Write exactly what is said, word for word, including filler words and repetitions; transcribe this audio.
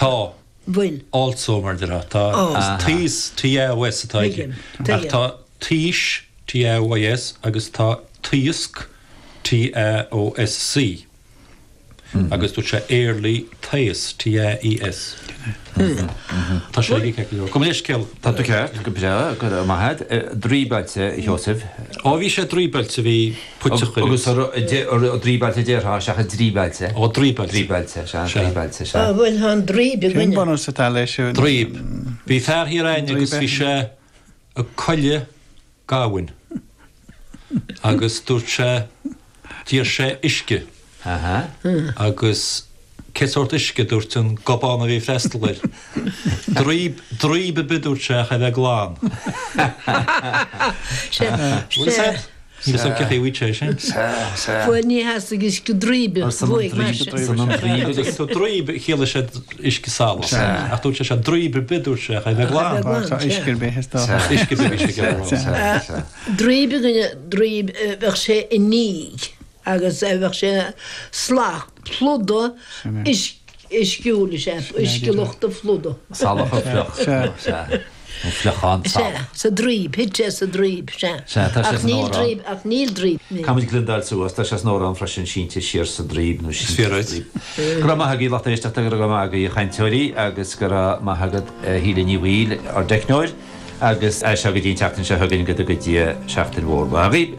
Tá Bhfuil. also mar de tá Oh. taos T A O S atá aige. Tuigim, Ach tuigim. tá taois T A O I S agus tá taosc T A O S C. Agus dúirt sé éarlaí taos T A E S. Tá sé ag go Go leithscéal. Tá tú ceart go breá go maith draoibailte Joseph. Ó bhí sé draoibailte bhí puiteach agus draoibailte déarfá seachas draoibailte. Ó draoibailte. Draoibailte se draoibailte se. Ah, bhfuil han draoib Cén againne. bunús atá leis? Draoib. Bhí fear thiar aine agus bhí sé ag coille gamhain. Agus dúirt sé d'iarr sé uisce Aha. Agus cé sórt uisce dúirt an gobán a bhí freastal air. Draoib draoib a bidúirt sé a bheith glan. Se Bhfuil Ní sam ce bhí sé sin. Bhfuil ní has agus go draoibe Agus tú draoib chiallaigh sé uisce salach. Ach dúirt sé sé draoib a bidúirt sé a bheith glan. Tá uisce ar bith is dá. Uisce bith sé go. Draoib againne draoib bheadh sé i níg agus bheadh sé slach pluda uisciúil sé uisce luchta pluda. Salach a fliuch. An fliuchán Se salach. sa draoib hit sé sa draoib se. Se, tá sé Ach san níl amhrán. draoib ach níl draoib. Caimid glindáil suas tá sé san amhrán freisin sínte siar sa draoib nó Is fíor duit. Go raibh maith agaibh lucht éisteachta go raibh maith agaibh chainteoirí agus go raibh maith agat Shíle Ní Bhaoill ár dteicneoir agus é seo go dtí an tseachtain seo chugainn go dtí seachtain mhór mhaith.